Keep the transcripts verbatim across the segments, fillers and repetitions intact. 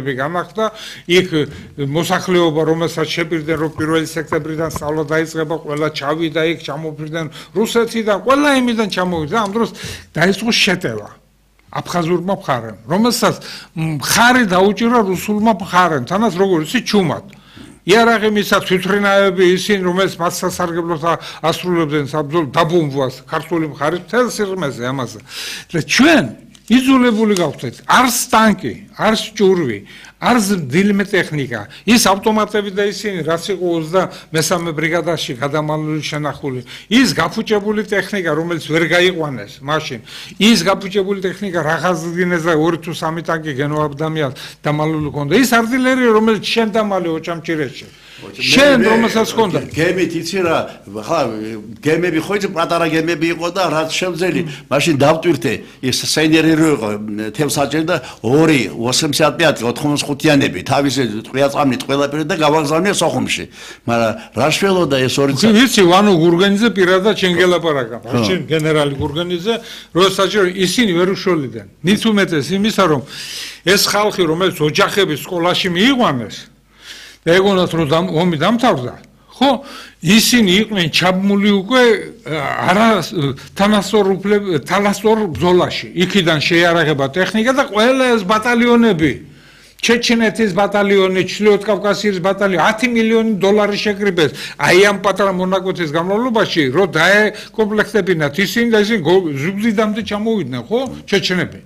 გამახდა იქ მოსახლეობა რომელსაც შეპირდნენ რომ პირველი სექტემბრიდან სწავლა დაიწყება ყველა ჩავიდა იქ ჩამოფრინდნენ რუსეთიდან ყველა იმიდან ჩამოვიდა ამ დროს დაიწყო შეტევა აფხაზურმა მხარემ რომელსაც მხარი დაუჭირა რუსულმა მხარემ თანაც როგორ იცი ჩუმად იარაღიმისა თვითრინავები ისინი რომელიც მათ სასარგებლოდ ასრულებდნენ საბრძოლო დაბომბვას ქართული მხარის მთელ სიღრმეზე ამაზე და ჩვენ იზოლებული გავხდეთ არც ტანკი არც ჭურვი არც დილმე ტექნიკა ის ავტომატები და ისინი რაც იყო ოცდამესამე ბრიგადაში გადამალული შენახული ის გაფუჭებული ტექნიკა რომელიც ვერ გაიყვანეს მაშინ ის გაფუჭებული ტექნიკა რაღაცინეს და ორი თუ სამი ტანკი გენოაბდამიად დამალული ჰქონდა ის არტილერია რომელიც შენ დამალე ოჭამჭირეთში შენ რომელსაც ჰქონდა გემით იცი რა ხა გემები ხო იცი პატარა გემები იყო და რაც შემძელი მაშინ დავტვირთე ის სენიერი იყო თემსაჭერი და ორი ოცდამეტ პიათი ოთხმოცდახუთიანები თავისი ტყვიაწყამით ყველაფერი და გავაგზავნე სოხუმში მაგრამ რა შველოდა ეს ორი ვიცი ვანო გურგენიძე პირადად შენ გელაპარაკა მაშინ გენერალი გურგენიძე როცა ისინი ვერ უშველიდან მით უმეტეს იმისა რომ ეს ხალხი რომელიც ოჯახების სკოლაში მიიყვანეს და ეგონათ რომ ომი დამთავრდა ხო ისინი იყვნენ ჩაბმული უკვე არა თანასწორ თანასწორ ბრძოლაში იქიდან შეიარაღება ტექნიკა და ყველა ეს ბატალიონები ჩეჩნეთის ბატალიონი ჩრდილოეთ კავკასიის ბატალიონი ათი მილიონი დოლარი შეკრიბეს აი ამ პატარა მონაკვეთის განმავლობაში რომ დაეკომპლექტებინათ ისინი და ისინი ზუგდიდამდე ჩამოვიდნენ ხო ჩეჩნები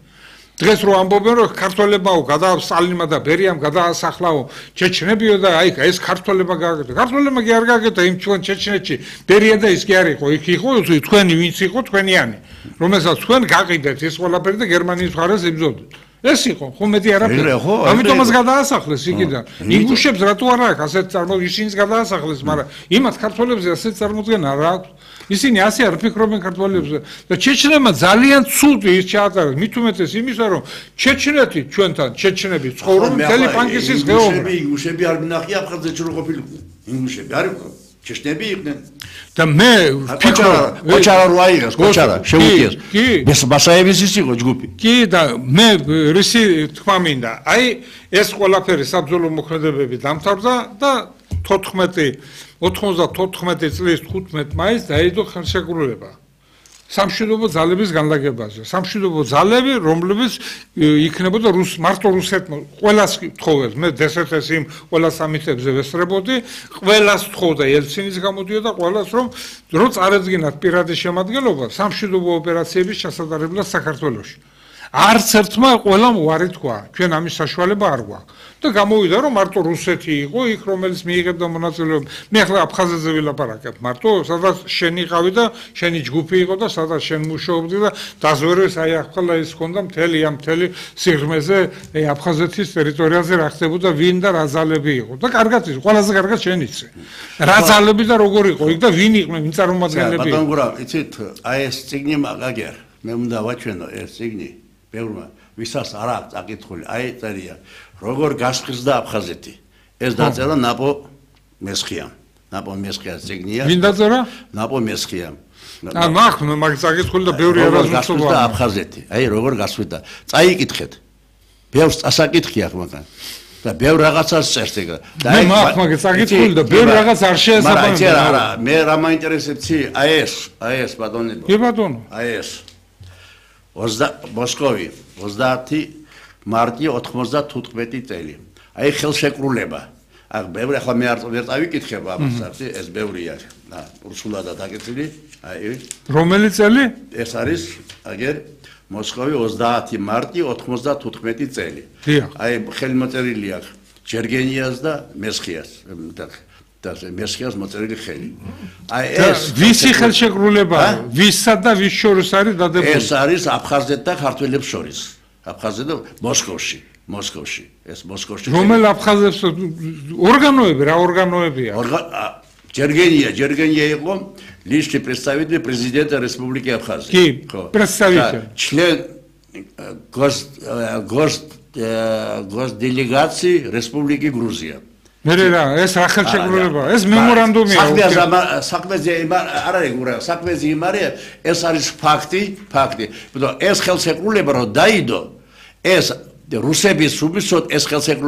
დღეს რო ამბობენ რომ ქართველებაო გადაასწალინა და ბერიამ გადაასახლაო ჩეჩნებიო და აი ეს ქართველებმა გააკეთა ქართველებმა კი არ გააკეთა იმ ჩვენ ჩეჩნეთში ბერია და ის კი არ იყო იქ იყო თქვენი ვინც იყო თქვენიანი რომელსაც თქვენ გაყიდეთ ეს ყველაფერი და გერმანიის მხარეს იბრძოდით ეს იყო ხო მეტი არაფერი ამიტომაც გადაასახლეს იქიდან ინგუშებს რატო არ აქვს ასეთ წარმოდგენა ისინიც გადაასახლეს მაგრამ იმათ ქართველებზე ასეთ წარმოდგენა რა აქვს ისინი ასე არ ფიქრობენ ქართველებზე და ჩეჩნებმა ძალიან ცუდი ის ჩაატარეს მით უმეტეს იმისა რომ ჩეჩნეთი ჩვენთან ჩეჩნები ცხოვრობენ მთელი პანკისის ხეობაში ინგუშები არ მინახი აფხაზეთში რო ყოფილიყო ინგუშები არ იყო ჩეჩნები იყვნენ და მე ფიქრობ კოჩარა რო აიღეს კოჩარა შეუტიეს ეს ბასაევის ის იყო ჯგუფი კი და მე რისი თქვა მინდა აი ეს ყველაფერი საბრძოლო მოქმედებები დამთავრდა და თოთხმეტი ოთხმოცდათოთხმეტი წლის თხუთმეტ მაისს დაიდო ხელშეკრულება სამშვიდობო ძალების განლაგებაზე სამშვიდობო ძალები რომლებიც იქნებოდა რუს მარტო რუსეთმა ყველას თხოვეს მე დსთ-ს იმ ყველა სამიტებზე ვესწრებოდი ყველას თხოვდა ელცინის გამოდიოდა ყველას რომ რო წარედგინათ პირადი შემადგენლობა სამშვიდობო ოპერაციების ჩასატარებლად საქართველოში არც ერთმა ყველამ უარი თქვა ჩვენ ამის საშუალება არ გვაქვს და გამოვიდა რომ მარტო რუსეთი იყო იქ რომელიც მიიღებდა მონაწილეობა მე ახლა აფხაზეთზე ვილაპარაკებ მარტო სადაც შენი ყავი და შენი ჯგუფი იყო და სადაც შენ მუშაობდი და დაზვერვეს აი ახლა ის ჰქონდა მთელი ამ მთელი სიღრმეზე აფხაზეთის ტერიტორიაზე რა ხდებოდა ვინ და რა ძალები იყო და კარგად ის ყველაზე კარგად შენ იცი რა ძალები და როგორ იყო იქ და ვინ იყვნენ ვინ წარმომადგენლები ბატონ გურა იცით აი ეს ციგნი მაგაგერ მე უნდა ვაჩვენო ეს ციგნი ბევრმა ვისაც არ აქვს წაკითხული აი წერია როგორ გასხიზდა აფხაზეთი ეს დაწერა ნაპო მესხიამ ნაპო მესხიას ციგნია ვინ დაწერა ნაპო მესხიამ ა მაგ მაგ წაკითხული და ბევრი არასწორია აფხაზეთი აი როგორ გასვიდა წაიკითხეთ ბევრს წასაკითხი აქვს მაგრამ და ბევრ რაღაცას წერს ეგ და აი მაგ მაგ წაკითხული და ბევრ რაღაც არ შეესაბამება არა მე რა მაინტერესებს აი ეს აი ეს ბატონებო კი ბატონო აი ეს მოსკოვი ოცდაათი მარტი ოთხმოცდათოთხმეტი წელი აი ხელშეკრულება აქ ბევრი ახლა მე არ ვერ წავიკითხებ ამას ეს ბევრია და რუსულადაა დაკეთილი აი რომელი წელი ეს არის აგერ მოსკოვი ოცდაათი მარტი ოთხმოცდათოთხმეტი წელი აი ხელმოწერილი აქვს ჯერგენიას და მესხიას და მესხიას მოწერილი ხელი აი ეს ვისი ხელშეკრულება ვისა და ვის შორის არის დადებული ეს არის აფხაზეთ და ქართველებს შორის აფხაზეთ და მოსკოვში მოსკოვში ეს მოსკოვში რომელ აფხაზებს ორგანოები რა ორგანოებია ჯერგენია ჯერგენია იყო личный представитель президента Республики Абхазия კი представитель член гос гос госделегации Республики Грузия მე რა ეს რა ხელშეკრულება ეს მემორანდუმია საქმეზე არ არის გურა საქმეზე იმარია ეს არის ფაქტი ფაქტი ბუდო ეს ხელშეკრულება რომ დაიდო ეს რუსების უმისოდ ეს ხელს